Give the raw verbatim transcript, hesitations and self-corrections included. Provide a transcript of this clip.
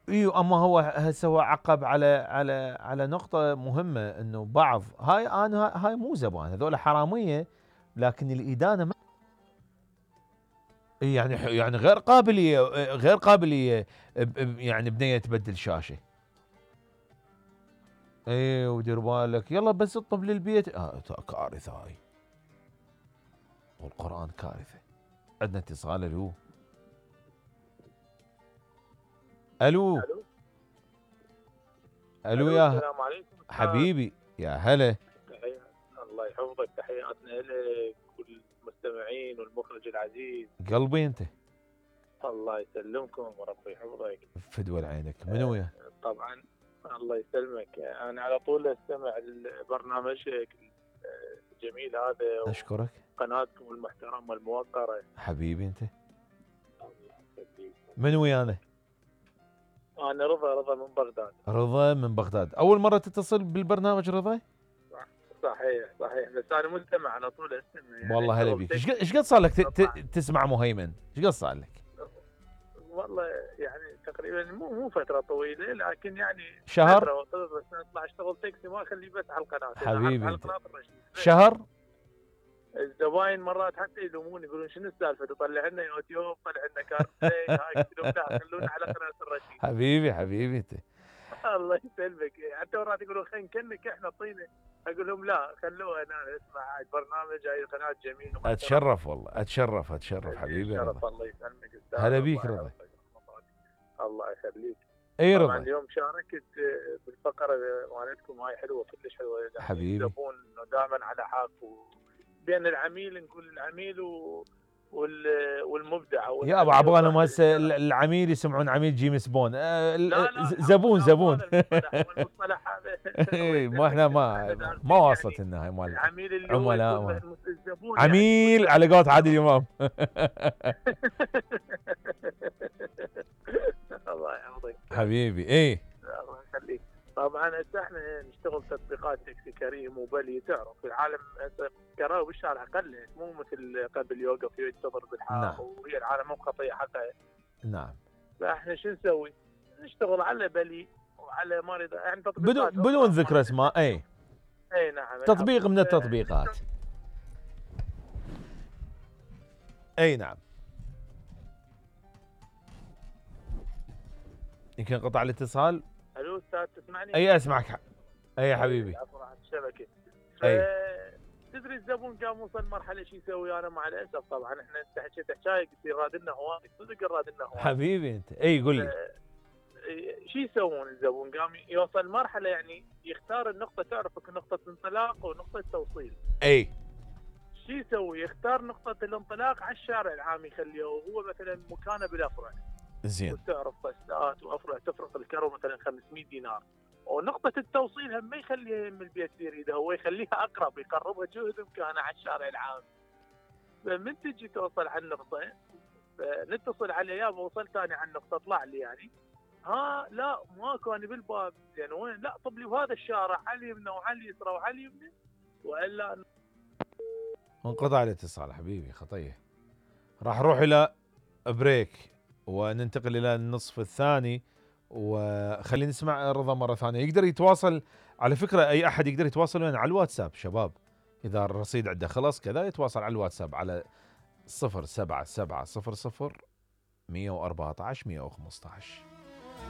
ايوه اما هو هسه هو عقب على على على نقطة مهمة، انه بعض هاي انا هاي مو زبائن، هذول حرامية، لكن الادانة ما يعني يعني غير قابلية، غير قابلية يعني بنية تبدل شاشة. ايه ودير بالك يلا بس اطب للبيت، آه كارثة هاي، والقرآن كارثة. عندنا اتصال. الو الو الو الو الو يا السلام عليكم أستاذ. حبيبي يا هلا. تحية، الله يحفظك، تحياتنا لك والمستمعين والمخرج العزيز. قلبي انت. الله يسلمكم وربي يحفظك. فدوى عينك. منو يا؟ طبعا الله يسلمك، انا على طول استمع لبرنامجك الجميل هذا اشكرك. وقناتكم المحترمه الموقره. حبيبي انت. من ويانا؟ انا رضا رضا من بغداد. رضا من بغداد، اول مره تتصل بالبرنامج رضا؟ صحيح صحيح، بس انا مستمع على طول استمع يعني. والله هلا بيك. ايش قد صار لك تسمع مهيمن؟ ايش قد صار لك؟ والله يعني تقريبا مو مو فتره طويله، لكن يعني شهر؟ فتره وصلت، بس اطلع اشتغل تاكسي ما اخليه بس على القناه. حبيبي على انت. القناه الرشيد شهر؟ الزباين مرات حتى يلومون يقولون شنو السالفه تطلع لنا يوتيوب، طلع لنا كارتي هاي، قلت لهم لا خلونا على قناه الرشيد. حبيبي حبيبي انت. الله يسلمك. حتى مرات يقولون خلينا نكنك احنا طينه، اقول لهم لا خلوها انا اسمع البرنامج، هاي قناه جميل. اتشرف والله، اتشرف اتشرف حبيبي رضا. الله يسلمك استاذ. هلا بيك رضا. الله يخليك. اي رضا. طبعا اليوم شاركت بالفقره مالتكم، هاي حلوه كلش حلوه حبيبي. الزبون دائما على حق، بين العميل نقول العميل و والمبدع. يا ابو عبالهم هسه العميل يسمعون عميل جيمس بون. آه لا لا زبون زبون. المصطلح هذا ما احنا ما ما واصلت لنا هاي مال العميل اللي عملاء هو الزبون عميل يعني على قولة عادل امام. الله يحفظك حبيبي. ايه الله يخليك. طبعا هسه احنا نشتغل تطبيقات تاكسي كريم وبلي، تعرف العالم هسه كراوي بالشارع قلت، مو مثل قبل يوقف ينتظر بالحاره. نعم. وهي العالم مو خطيه حقها. نعم. فاحنا شو نسوي؟ نشتغل على بلي وعلى ما يعني بدون بدون ذكر اسماء. اي اي نعم. تطبيق من التطبيقات. اي نعم. يمكن قطع الاتصال. الو استاذ تسمعني؟ اي اسمعك. اي يا حبيبي. عفوا على الشبكه. اي تدري الزبون قام وصل مرحله شو يسوي؟ انا مع الاسف طبعا احنا انت حكيت حكايه قلت لي راد لنا هواي، صدق راد لنا هواي. حبيبي انت. اي قول لي. شو يسوون الزبون؟ قام يوصل مرحله يعني يختار النقطه، تعرف نقطه انطلاق ونقطه توصيل. اي شو يسوي؟ يختار نقطه الانطلاق على الشارع العام يخليه، وهو مثلا مكانه بالافرع. زين. وتعرف بسات وافرع تفرق الكرو مثلا خمسمية دينار، ونقطة التوصيل هم ما يخليها من البيت في يريدها، هو يخليها أقرب، يقربها جهد إمكانه على الشارع العام. فمن تجي توصل على النقطة نتصل عليه، يابا وصلت أنا على النقطة اطلع لي يعني. ها لا ماكو، أنا بالباب. يعني وين؟ لا طب لي بهذا الشارع على اليمنى وعلى اليسرى وعلى اليمنى، وإلا انقطع الاتصال حبيبي. خطية. راح نروح إلى بريك وننتقل إلى النصف الثاني، وخلينا نسمع رضا مرة ثانية. يقدر يتواصل على فكرة، أي أحد يقدر يتواصل وين؟ على الواتساب شباب، إذا الرصيد عنده خلص كذا يتواصل على الواتساب على صفر سبعة سبعة صفر صفر مية وأربعة عشر مية وخمسة عشر.